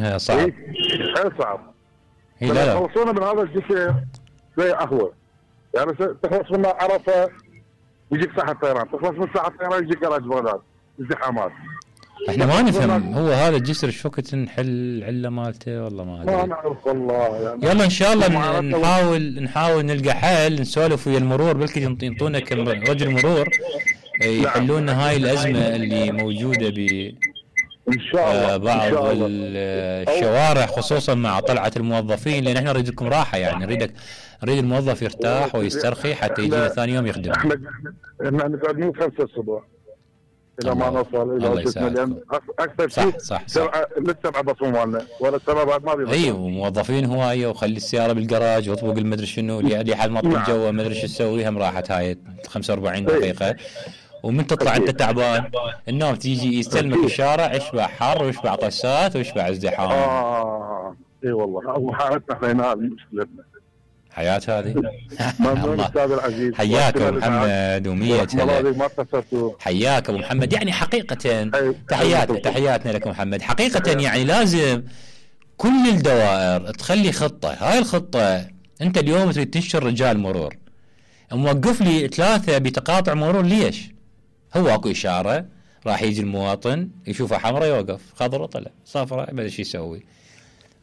انها صعب. حيل صعب. لا خلصونا من هذا الجسر زي اهون، يعني تخلص من عرفه يجيك ساحه طيران، تخلص من ساحه طيران يجيك كراج بغداد، ازدحامات. احنا ما نفهم هو هذا الجسر ايش وقت نحل عله مالته والله ما ادري. ما نعرف والله يعني. يلا ان شاء الله نحاول نلقى حل، نسولف ويا المرور بلكي ينطونا كم رجل مرور يحلون لنا هاي الازمه اللي موجوده ان شاء الله بعض الشوارع خصوصا مع طلعه الموظفين، لان احنا نريد لكم راحه، يعني نريد الموظف يرتاح ويسترخي حتى يجي ثاني يوم يخدم. احنا نقعد من 5 الصبح الى ما نوصل الى وقتنا، لان اكثر شيء صح لسه بعد مالنا ولا السبب بعد ما بيضل. ايوه موظفين هوايه، وخلي السياره بالجراج واطبق المدري شنو اللي حد ما طلع جوا ما ادري شو تسوي، هم راحت هاي 45 دقيقه. ومن تطلع انت تعبان النوم تيجي يستلمك الشارع، يشبع حر ويشبع طسات ويشبع ازدحام. اي والله وحالتنا احنا هنا مشكلتنا حياة هذه. ممنون استاذ العزيز، حياك ابو محمد ومية حياك ابو محمد. يعني حقيقة تحياتنا لك محمد. حقيقة يعني لازم كل الدوائر تخلي خطة. هاي الخطة انت اليوم تريد تنشر رجال مرور، موقف لي 3 بتقاطع مرور، ليش؟ هو اكو اشارة راح يجي المواطن يشوفها حمراء يوقف، خضراء طلع، صفراء ما شو يسوي.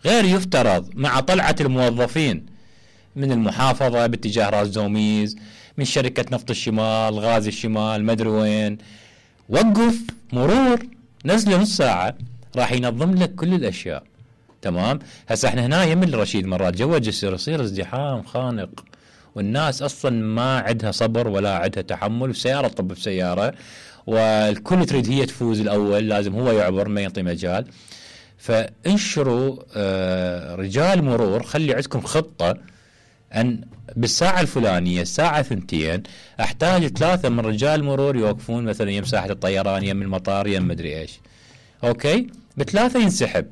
غير يفترض مع طلعة الموظفين من المحافظة باتجاه راس زوميز، من شركة نفط الشمال، غاز الشمال، مدري وين، وقف مرور نزله نص ساعة راح ينظم لك كل الأشياء. تمام. هسه احنا هنا يم الرشيد مرات جوا الجسر يصير ازدحام خانق، والناس أصلا ما عندها صبر ولا عندها تحمل، والسيارة تطب بسيارة، والكل تريد هي تفوز الأول، لازم هو يعبر ما يعطي مجال. فانشروا رجال مرور، خلي عندكم خطة أن بالساعة الفلانية الساعة 2 أحتاج 3 من رجال مرور يوقفون مثلا يم ساحة الطيران، يم المطار، يم مدري إيش. أوكي ب3 ينسحب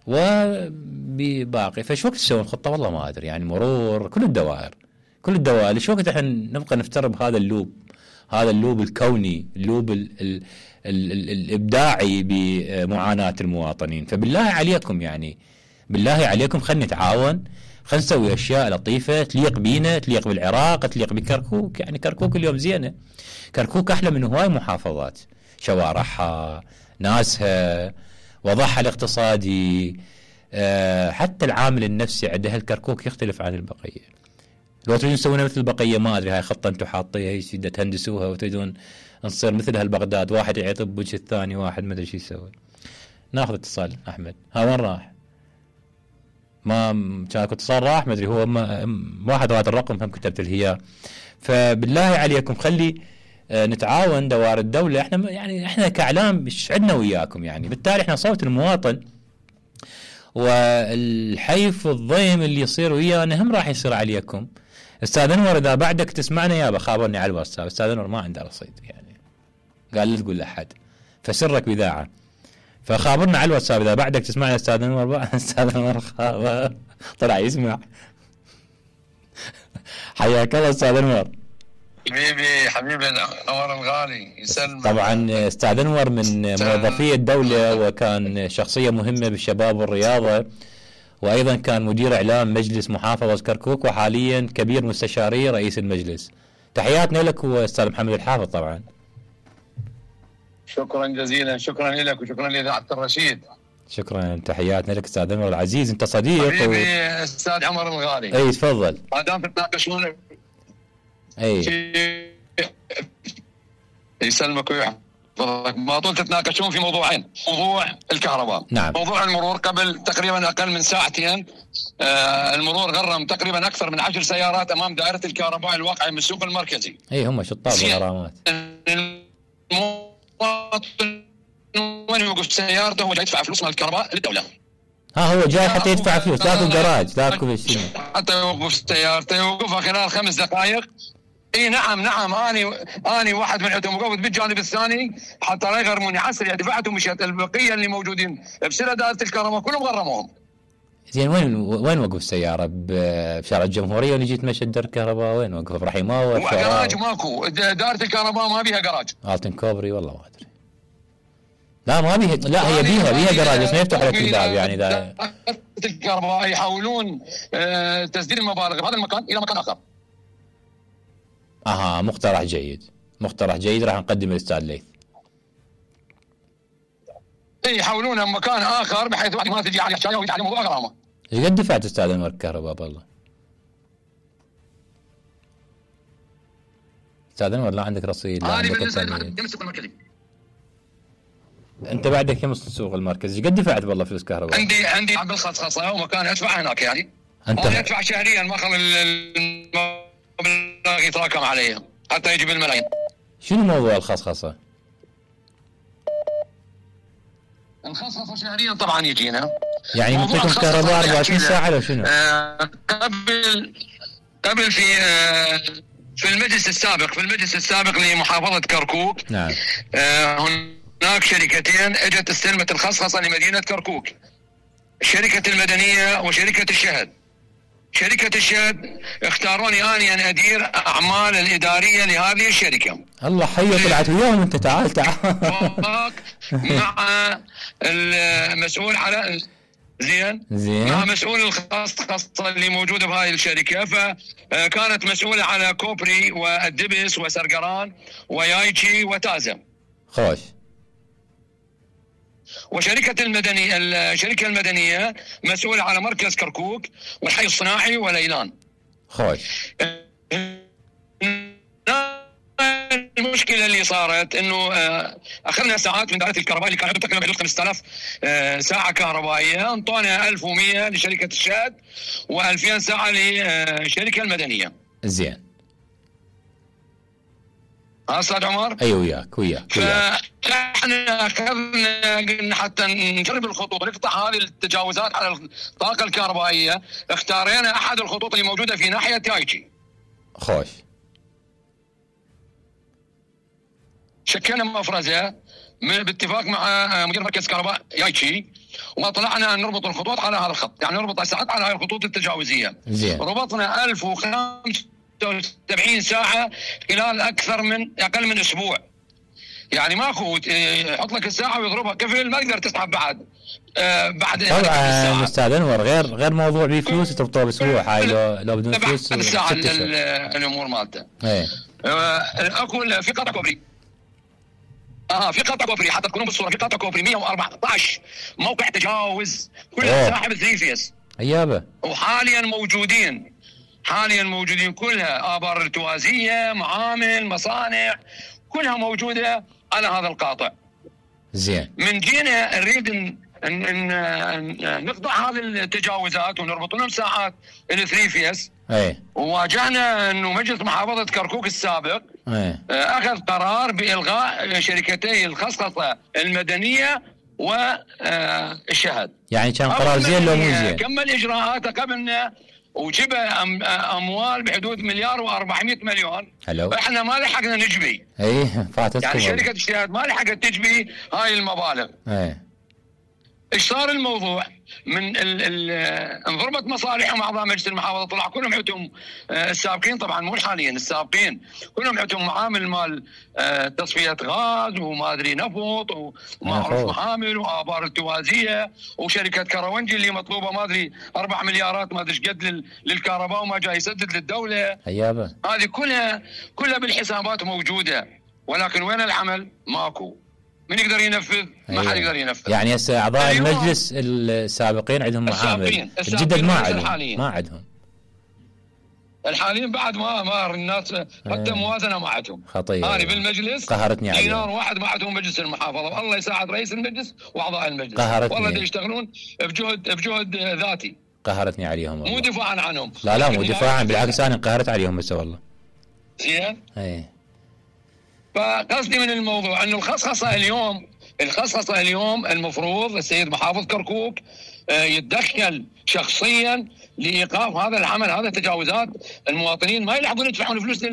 وباقي. فش وقت تسوون خطة والله ما أدري. يعني مرور كل الدوائر شو وقت احنا نبقى نفترض هذا اللوب الكوني، اللوب الإبداعي بمعاناة المواطنين. فبالله عليكم يعني بالله عليكم خلينا نتعاون، خلينا نسوي أشياء لطيفة تليق بينا، تليق بالعراق، تليق بكركوك. يعني كركوك اليوم زينة، كركوك أحلى من هواي محافظات، شوارعها، ناسها، وضعها الاقتصادي، حتى العامل النفسي عندها الكركوك يختلف عن البقية. لو تريدون تسوونها مثل البقية ما أدري، هاي خطة أنتم حاطيها هي تهندسوها وتريدون نصير مثل هالبغداد، واحد يعطب وجه الثاني، واحد ما أدري شو يسوي. ناخذ اتصال. أحمد ها وين راح؟ ما كان اتصال راح ما ادري، هو واحد راد الرقم هم كتبت الهياء. فبالله عليكم خلي نتعاون دوائر الدولة. احنا كاعلام مش عندنا وياكم، يعني بالتالي احنا صوت المواطن، والحيف والضيم اللي يصير ويانا هم راح يصير عليكم. استاذ انور اذا بعدك تسمعنا يابا خابرني على الواتساب. استاذ انور ما عنده رصيد، يعني قال لا تقول لاحد، فسرك بذاعه، فخابرنا على الواتساب اذا بعدك تسمعنا. استاذ انور استاذ انور طلع يسمع. حياك الله استاذ انور. حبيبي انور الغالي يسلمك. طبعا استاذ انور من موظفي الدوله، وكان شخصيه مهمه بالشباب والرياضه، وايضا كان مدير اعلام مجلس محافظه كركوك، وحاليا كبير مستشاري رئيس المجلس. تحياتنا لك واستاذ محمد الحافظ. طبعا شكرا جزيلا، شكرا لك وشكرا لإذاعة الرشيد. شكرا، تحياتنا لك استاذ انور العزيز، انت صديق حبيبي استاذ عمر الغالي. اي تفضل. ما دام تتناقشون يسلمك ويحفظك، ما طول تتناقشون في موضوعين، موضوع الكهرباء، نعم. موضوع المرور. قبل تقريبا اقل من 2 ساعات المرور غرم تقريبا اكثر من 10 سيارات امام دائرة الكهرباء الواقعة من السوق المركزي. اي هم شطار بالغرامات. وين يوقف سيارته ولا يدفع فلوس مال الكهرباء للدولة؟ هو جاي حتى يدفع فلوس، لا جراج لا شيء، حتى يوقف سيارته يوقفها خلال 5 دقائق. اي نعم اني واحد من عندهم وقفت بالجانب الثاني حتى لا يغرموني عسري، دفعت ومشيت. البقيه اللي موجودين بسله دائره الكهرباء كلهم غرموهم. زين وين وقف السياره؟ بشارع الجمهوريه ولا جيت مشى دار الكهرباء؟ وين وقف؟ برحيماوي؟ جراج ماكو، دائره الكهرباء ما بيها جراج. التن كوبري والله ما ادري. لا ما بيها، لا هي بيها جراج بس ما يفتح لك الباب يعني اذا الكهرباء يحاولون تسديد المبالغ بهذا المكان الى مكان اخر. مقترح جيد راح نقدم الاستاذ ليث. يحاولون مكان اخر بحيث ما تجي عليه حكايه ويجي عليه موضوع غرامه. ايش قد دفعت استاذ انور الكهرباء بالله؟ استاذ انور لا عندك رصيد لا عندك السوق المركزي. انت بعدك كم السوق المركزي؟ ايش قد دفعت بالله فلوس كهرباء؟ عندي عقد خصخصه ومكان ادفع هناك يعني. انت ادفع شهريا ما خل المبلغ يتراكم علي حتى يجي بالملايين. شنو موضوع الخصخصه؟ الخصخصه شهريا طبعا يجينا يعني يعطيكم كهرباء 24 ساعه لو شنو؟ قبل في المجلس السابق لمحافظه كركوك. نعم. هناك شركتين اجت استلمت الخصخصه لمدينه كركوك، الشركه المدنيه وشركه الشهد. شركه الشهد اختاروني اني ان ادير اعمال الاداريه لهذه الشركه. الله حي طلعت وياهم انت. تعال مع المسؤول على زين مع مسؤول الخصخصه اللي موجوده بهاي الشركه، فكانت مسؤوله على كوبري والدبس وسرقران ويايتشي وتازم. خوش. وشركه الشركه المدنيه مسؤوله على مركز كركوك والحي الصناعي وليلان. خوش. المشكله اللي صارت انه اخذنا ساعات من دائره الكهرباء اللي كانت تقريبا حدود 5000 ساعه كهربائيه، انطونا 1100 لشركه الشهد و2000 ساعه للشركه المدنيه. زين. استاذ عمر؟ ايوه وياك. فاحنا اخذنا قلنا حتى نجرب الخطوط ونقطع هذه التجاوزات على الطاقه الكهربائيه، اختارينا احد الخطوط اللي موجوده في ناحيه تايتشي. خوش. شكلنا مفرزه باتفاق مع مدير مركز كهرباء يايتشي، وطلعنا نربط الخطوط على هذا الخط، يعني نربط الساعات على هذه الخطوط التجاوزيه. زين. ربطنا 1075 ساعه خلال اقل من اسبوع. يعني ماكو يحط لك الساعه ويضربها كفل، ما تقدر تسحب بعد طبعا استاذ انور غير موضوع بيه فلوس تربطوه باسبوع. هاي لو بدون فلوس الساعه الامور مالته. اكو في قطع كوبري. في قطع كوبري حتى تكونون بالصوره، في قطع كوبري 114 موقع تجاوز كلها ساحب 3 فيس. ايابه. وحاليا موجودين كلها آبار ارتوازيه، معامل، مصانع، كلها موجوده على هذا القاطع. زين. من جينا نريد ان نقطع هذه التجاوزات ونربط لهم ساعات ال3 فيس. وواجهنا انه مجلس محافظه كركوك السابق اخذ قرار بالغاء شركتي الخصخصه المدنيه والشهد. يعني كان قرار زين لو مو زين؟ كمل اجراءاته قبلنا وجب اموال بحدود 1,400,000,000. حلو. احنا ما لحقنا نجبي. فاتتكم. يعني شركه الشهد ما لحقت تجبي هاي المبالغ. ايش صار الموضوع؟ من انضربت مصالحهم اعضاء مجلس المحافظه، طلع كلهم عندهم السابقين، طبعا مو الحاليين، السابقين كلهم عندهم معامل مال تصفيه غاز وما ادري نفط ومعروف معامل وابار التوازيه وشركه كروانجي اللي مطلوبه ما ادري 4 مليارات ما ادري ايش قد للكهرباء وما جاي يسدد للدوله. هذه كلها بالحسابات موجوده، ولكن وين العمل؟ ماكو. من يقدر ينفذ؟ ما حد يقدر ينفذ. يعني هسه اعضاء المجلس السابقين عندهم معامل، الجدد ما عندهم. الحاليين بعد ما الناس حتى موازنه ما عندهم. خطير. هذه بالمجلس قهرتني عليهم. دينار واحد ما عندهم مجلس المحافظه، والله يساعد رئيس المجلس واعضاء المجلس. قهرتني. والله يشتغلون بجهد ذاتي. قهرتني عليهم والله. مو دفاعا عنهم. لا مو دفاعا، بالعكس انا انقهرت عليهم بس والله. زين. فقصدي من الموضوع انه الخصخصه اليوم المفروض السيد محافظ كركوك يتدخل شخصيا لايقاف هذا العمل، هذا التجاوزات. المواطنين ما يلحقون يدفعون فلوس